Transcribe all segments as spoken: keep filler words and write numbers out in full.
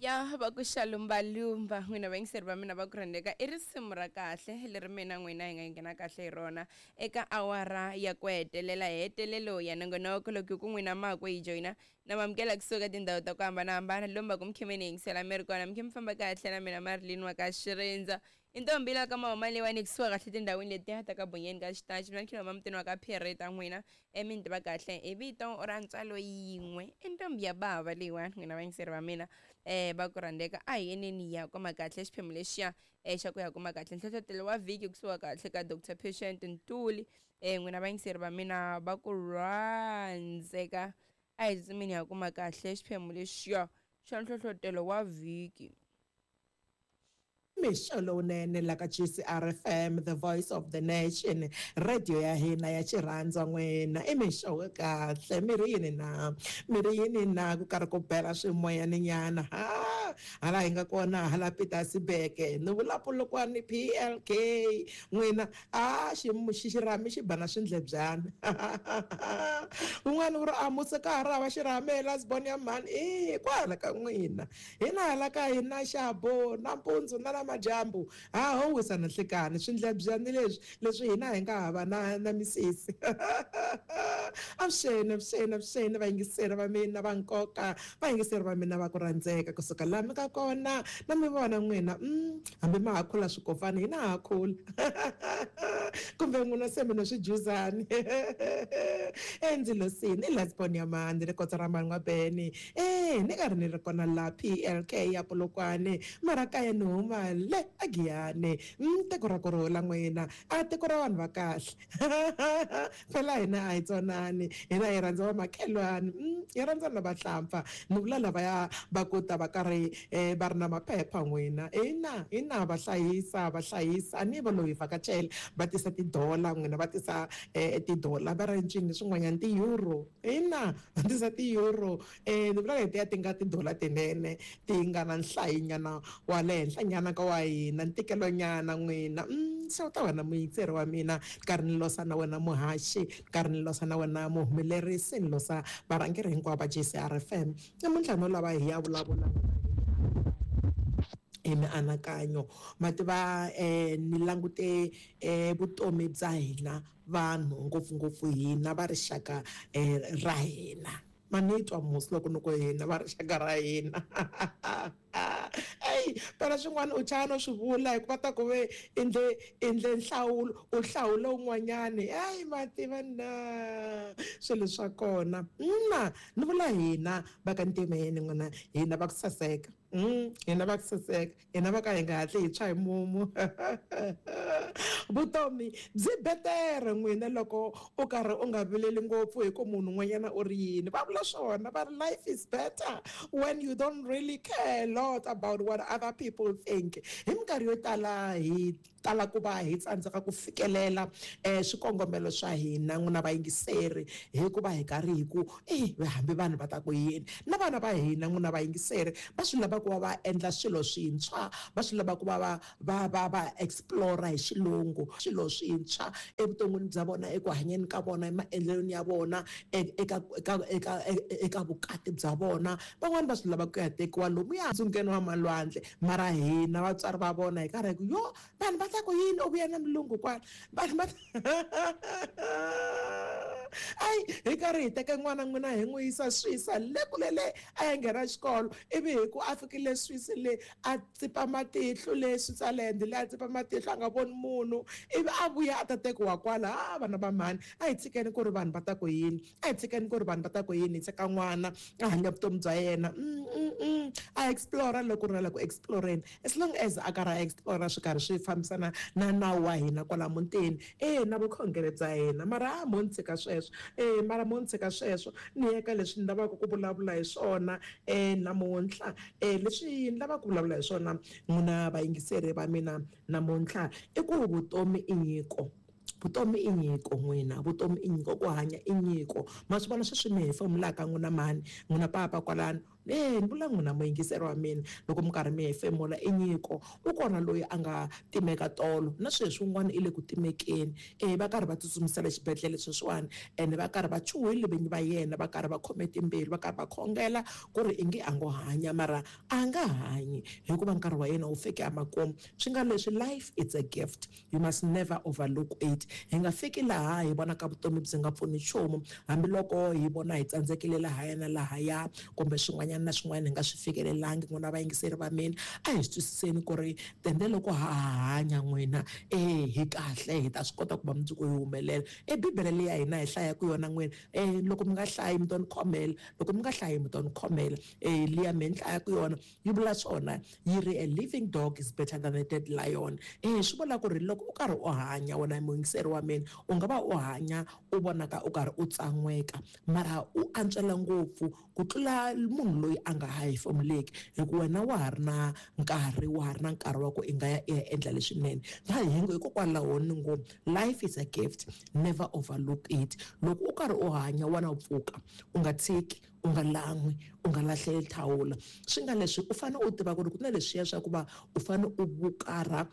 Ya va ku xa lumbalumba n'wina vayingiseri va mina va ku rhandzeka i risimu ra kahle leri mina n'wina hi nga nghena kahle hi rona eka awara ya ku hetelela hetelelo ya nongonoko. Loko hi ku n'wina makwe hi joyina na mamukela kusuka tindhawu ta ku hambanahambana lomba ku mi ni yingisela mi ri kona mi khe mi famba kahle na mina Marilyn wa ka Xirindza i ntombi la ka mahuma leyiwani kusuka kahle tindhawini letiya ta ka Bonyeni ka Xitachi. Mina ni khiloma mutini wa ka Pierre ta n'wina e mi ni tiva kahle hi vito ra ntswalo yin'we i ntombi ya bava leyiwani n'wina vayingiseri va mina um va ku rhandzeka. A hi yeneni ya kuma kahle xiphemu lexiya um xa ku ya kuma kahle nhlohlotelo wa vhiki kusuka kahle ka Doctor Patient Ntuli um n'wina vayingiseri va mina va ku rhandzeka. A hi tsutsumeni ya kuma kahle xiphemu lexiya xa nhlohlotelo wa vhiki. Mixo lowunene la ka G C R F M, the voice of the nation, radio ya hina ya xirhandza n'wina. I mixo wa kahle, mi ri yini na? Mi ri yini na ku karhi ku bela swimoyaninyana? Ha, hala hi nga kona hala Pietersburg, ni vula Polokwane P L K. N'wina, a xi xirhami xi ba na swindlebyana. Un'wana u ri a muse ka ha ri hava xirhami Lasbon ya mhani. E kwala ka n'wina. Hina hala ka hina xabo nampundzu na madyambu ha ho wisa na nhlekani swindlebyani leswi leswi hina hi nga hava na na misisi. Avuxeni, avuxeni, avuxeni vayingiseri va mina va nkoka, vayingiseri va mina va ku rhandzeka kusuka laha mi nga kona na mi vona n'wina. Hambi ma ha khula swikofani hina ha khula kumbe n'wina se mi na swijuzani. Endzilosini i Lasbon ya mani ri kotsa ra mani n'wa Beni. E ni karhi ni ri kona la P L K ya Polokwane mara kaya ni huma le a Giyani. Tiko ra ku rhula n'wina, a tiko ra vanhu va kahle. Phela hina a hi tsonani, hina hi rhandza vamakhelwani, hi rhandza na vahlampfa. Ni vula lavaya va ku ta va karhi va ri na maphepha n'wina. Hina hina va hlayisa va hlayisa a ni va loyi vhakachela va tisa tidola n'wina, va tisa tidola va ri ncini swin'wanyana ti-euro. Hina va tisa ti-euro. Ni vula letiya ti nga tidola tinene ti nga na nhlayinyana wa le henhla nyana ka wa hina ntikelonyana n'wina. Se u ta wena muyingiseri wa mina karhi ni losa na wena muhaxi, karhi ni losa na wena muhumelerisi, ni losa varhangeri hinkwavo va G C R F M. Namuntlha no lava hi ya vulavula hi mianakanyo. Ma tiva ni langute vutomi bya hina vanhu ngopfungopfu hina va rixaka ra hina. Ma ni twa musi loko ni ku hina va rixaka ra hina. Ey, phela swin'wana u chava no swi vula hikuva ta ku ve endle endle nhlawulo u hlawula un'wanyani. Ey, ma tiva na swilo swa kona. Na ni vula hina va ka ntimeni n'wina, hina va ku saseka. Hina va ku saseka, hina va ka hi nga hatli hi tshwa hi mumu. Vutomi byi betere n'wina loko u karhi u nga vileli ngopfu hi ku munhu un'wanyana u ri yini. Va vula swona va ri life is better when you don't really care a lot about what other people think. Hi minkarhi yo tala hi tala ku va hi tsandzeka ku fikelela swikongomelo swa hina n'wina vayingiseri hikuva hi karhi hi ku e hambi vanhu va ta ku yini. Na vana va hina n'wina vayingiseri va swi lava ku va va endla swilo swintshwa, va swi lava ku va va va va va explore hi xilungu swilo swintshwa evuton'wini bya vona, eku hanyeni ka vona, emaendlelweni ya vona, eka eka eka eka vukati bya vona. Van'wani va swi lava ku ya tekiwa lomuya ntsungeni wa malwandle, mara hina vatswari va vona hi karhi hi ku yo vanhu va ta ku yini u vuya na mulungu kwala vanhu va ai hi karhi hi teka n'wana n'wina hi n'wi yisa Swisa le kule le a ya nghena xikolo, ivi hi ku a fikile Swisi le a tsipa matihlo le Switzerland le a tsipa matihlo a nga voni munhu, ivi a vuya a ta tekiwa kwala. A vana va mhani a hi tshikeni ku ri vanhu va ta ku yini, a hi tshikeni ku ri vanhu va ta ku yini. Hi tshika n'wana a hanya vutomi bya yena, a explore loko ri na la ku exploreni, as long as a karhi a explore swi karhi swi fambisana na nawu wa hina kwala mutini e na vukhongeri bya hina. Mara a mo ni tshika sweswo, e mara mo ni tshika sweswo ni ya ka leswi ni lavaka ku vulavula hi swona e namuntlha. E leswi ni lavaka ku vulavula hi swona n'wina vayingiseri va mina namuntlha i ku vutomi i nyiko. Vutomi i nyiko n'wina, vutomi i nyiko, ku hanya i nyiko. Ma swi vona sweswi mi hefemulaka n'wina mhani, n'wina papa kwalano, E ni vula n'wina muyingiseri wa mina loko mi karhi mi hefemula i nyiko. U kona loyi a nga timeka tolo na sweswi un'wana i le ku timekeni, e va karhi va tsutsumisela xibedhlele sweswiwani, ene va karhi va chuhile vinyi va yena, va karhi va khome timbilu, va karhi va khongela ku ri i nge a ngo hanya, mara a nga hanyi hikuva nkarhi wa yena wu fike emakumu. Swi nga leswi, life it's a gift, you must never overlook it. Hi nga fiki laha hi vonaka vutomi byi nga pfuni nchumu, hambiloko hi vona hi tsandzekile lahaya na lahaya kumbe swin'wanyana na swin'wana hi nga swi fikelelangi. N'wina vayingiseri va mina, a hi swi twisiseni ku ri tende loko ha ha hanya n'wina e hi kahle, hi ta swi kota ku va mundzuku hi humelela. E bibele leyi ya hina hi hlayaka yona n'wina, e loko mi nga hlayi mi to ni khomela, loko mi nga hlayi mi to ni khomela, e liya mi ni hlayaka yona yi vula swona, yi ri a living dog is better than a dead lion. E swi vula ku ri loko u karhi u hanya wena muyingiseri wa mina, u nga va u hanya u vonaka u karhi u tsan'weka, mara u antswela ngopfu ku tlula munhu loyi a nga ha hefemuleki, hikuva wena wa ha ri na nkarhi, wa ha ri na nkarhi wa ku i nga ya i ya endla leswinene. Hikokwalaho ni ngo life is a gift, never overlook it. Loko u karhi u hanya wena u pfuka, u nga tshiki, u nga lan'wi, u nga lahleli thawula. Swi nga leswi u fanele u tiva ku ri ku na leswiya swa ku va u fanele u vukarha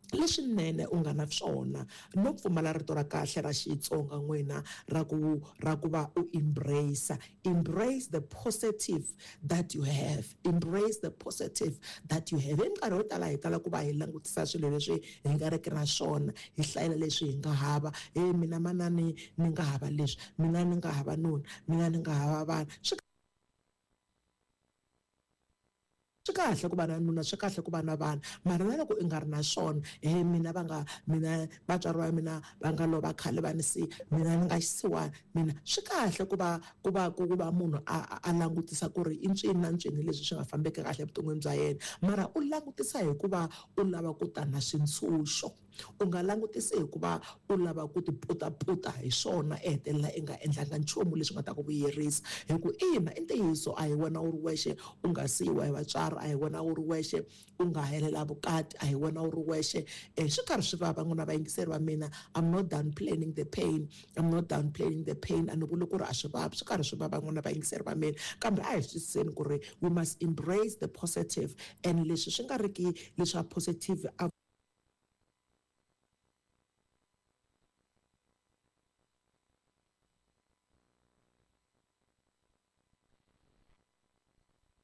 leswinene u nga na swona, no pfumala rito ra kahle ra Xitsonga n'wina ra ku ra ku va u embrace, embrace the positive that you have, embrace the positive that you have. Hi minkarhi yo tala hi tala ku va hi langutisa swilo leswi hi nga riki na swona, hi hlayela leswi hi nga hava. E mina manani ni nga hava leswi, mina ni nga hava nuna, mina ni nga hava vana. Swi swi kahle ku va na nuna, swi kahle ku va na vana, mara na loko i nga ri na swona, he mina va nga mina vatswari va mina va nga lova khale va ni siya, mina ni nga xisiwana mina. Swi kahle ku va ku va ku va munhu a a langutisa ku ri i ncini na ncini leswi swi nga fambeki kahle evuton'wini bya yena, mara u langutisa hikuva u lava ku ta na swintshunxo. U nga langutisi hikuva u lava ku ti putaputa hi swona, e hetelela i nga endlanga nchumu leswi nga ta ku vuyerisa. Hi ku ina, i ntiyiso, a hi wena u ri wexe u nga siyiwa hi vatswari, a hi wena u ri wexe u nga helela vukati, a hi wena u ri wexe. E swi karhi swi vava n'wina vayingiseri va mina. I'm not done planning the pain, I'm not done planning the pain. A ni vuli ku ri a swi vavi, swi karhi swi vava n'wina vayingiseri va mina, kambe a hi swi twisiseni ku ri we must embrace the positive, and leswi swi nga ri ki leswa positive a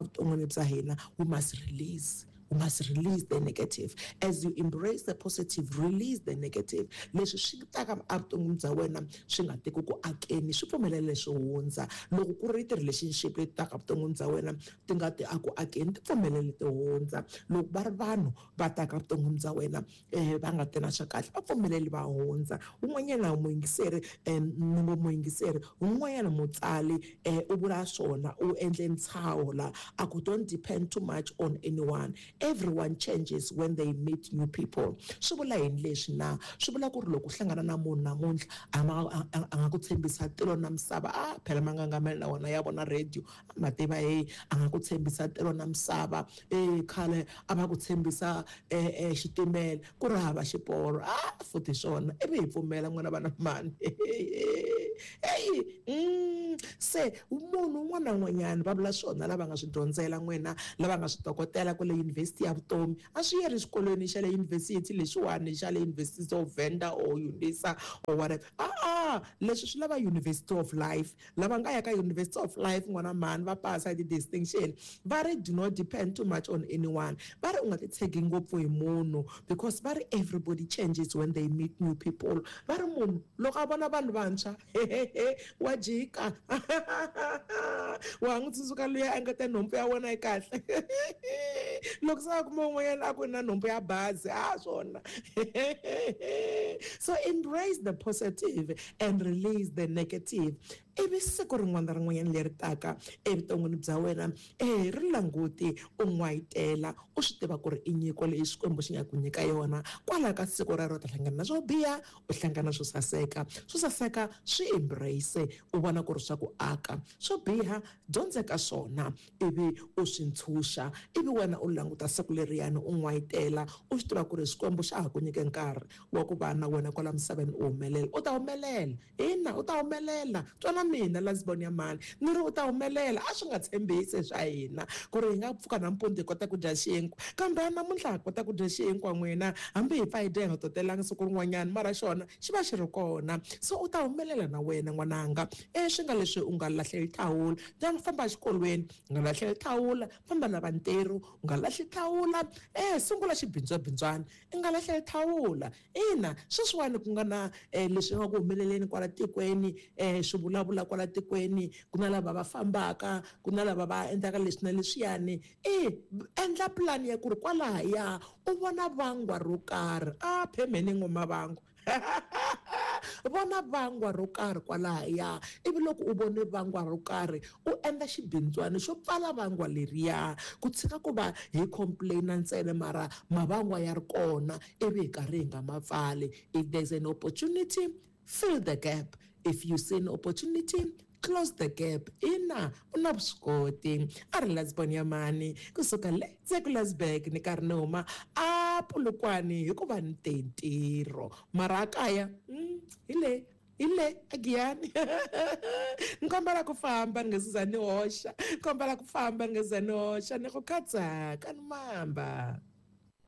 vuton'wini bya hina. We must release, we must release the negative. As you embrace the positive, release the negative. Leswi swi taka evuton'wini bya wena swi nga teki ku akeni, swi pfumelele leswi hundza. Loko ku ri ti-relationship leti taka evuton'wini bya wena ti nga ti aku akeni, ti pfumelele ti hundza. Loko va ri vanhu va taka evuton'wini bya wena um va nga ti na swa kahle, va pfumeleli va hundza. Un'wanyana muyingiseri, um ni ngo muyingiseri, un'wanyana mutsali um u vula swona, u endle ntshaho la a ku don't depend too much on anyone. Everyone changes when they meet new people. Swi vula yini leswi na? Swi vula ku ri loko u hlangana na munhu namuntlha, a a nga ku tshembisa tilo na misava, a phela mangangamela na wona ya vona radio, a ma tiva hey, a nga ku tshembisa tilo na misava, e khale a va ku tshembisa e xitimela ku ri hava xiporo, a futhi swona ivi hi pfumela n'wana vana mani. Hey, mm, se munhu un'wana na un'wanyana va vula swona lava nga swi dyondzela n'wina, lava nga swi tokotela kwale yunivhesiti ya vutomi, a swi yeri xikolweni xa le yunivhesiti lexiwani xa le University of Venda or Unisa or whatever. A a leswi swi lava University of Life. Lava nga ya ka University of Life n'wana mhani va pasa hi ti-distinction, va ri do not depend too much on anyone. Va ri u nga titshegi ngopfu hi munhu, because va ri everybody changes when they meet new people. Va ri munhu loko a vona vanhu vantshwa wa jika, wa n'wi tsundzuka luya a nga ta nhompfu ya wena yi kahle, loko se a kuma un'wanyana a ku na nhompfu ya bazi, a swona. So embrace the positive and release the negative. Ivi siku rin'wana na rin'wanyana leri taka evuton'wini bya wena, e ri languti u n'wayitela, u swi tiva ku ri i nyiko leyi Xikwembu xi nga ku nyika yona. Kwalaho ka siku rero u ta hlangana na swo biha, u hlangana swo saseka. Swo saseka swi embrace, u vona ku ri swa ku aka. Swo biha dyondzeka swona ivi u swi ntshunxa, ivi wena u languta siku leriyani u n'wayitela, u swi tiva ku ri Xikwembu xa ha ku nyike nkarhi wa ku va na wena kwala misaveni u humelela. U ta humelela, ina u ta humelela. Twana mina lasbon ya mani ni ri u ta humelela a swi nga tshembisi swa hina ku ri hi nga pfuka nampundzu hi kota ku dya xinkwa kambe namuntlha ha kota ku dya xinkwa n'wina hambi hi pfa hi dya hi nga totelanga siku rin'wanyana mara xona xi va xi ri kona so u ta humelela na wena n'wananga e swi nga leswi u nga lahleli thawula ta famba exikolweni u nga lahleli thawula famba lava ntirho u nga lahli thawula e sungula xibindzwabindzwana i nga lahleli thawula ina sweswiwani ku nga na um leswi nga ku humeleleni kwala tikweni um swi vulavula kwala tikweni ku na lava va fambaka ku na lava va endlaka leswi na leswiyani e endla pulani ya ku ri kwalahaya u vona vangwa ro karhi a phemeni ngoma vangwa vona vangwa ro karhi kwalahaya ivi loko u vone vangwa ro karhi u endla xibindzwana xo pfala vangwa leriya ku tshika ku va hi complaina ntsena mara mavangwa ya ri kona ivi hi karhi hi nga ma pfali. If there's an opportunity, fill the gap. If you see an opportunity, close the gap. Ina u na vuswikoti. A ri lasbon ya mani kusuka le Tsekulasburg ni karhi ni huma a Polokwane hikuva ni te ntirho mara a kaya mm, hi le hi le agiyani ni kombela ku famba ni nga se za ni hoxa ni kombela ku famba ni nga se za ni hoxa ni ku khatsaka ni mamba.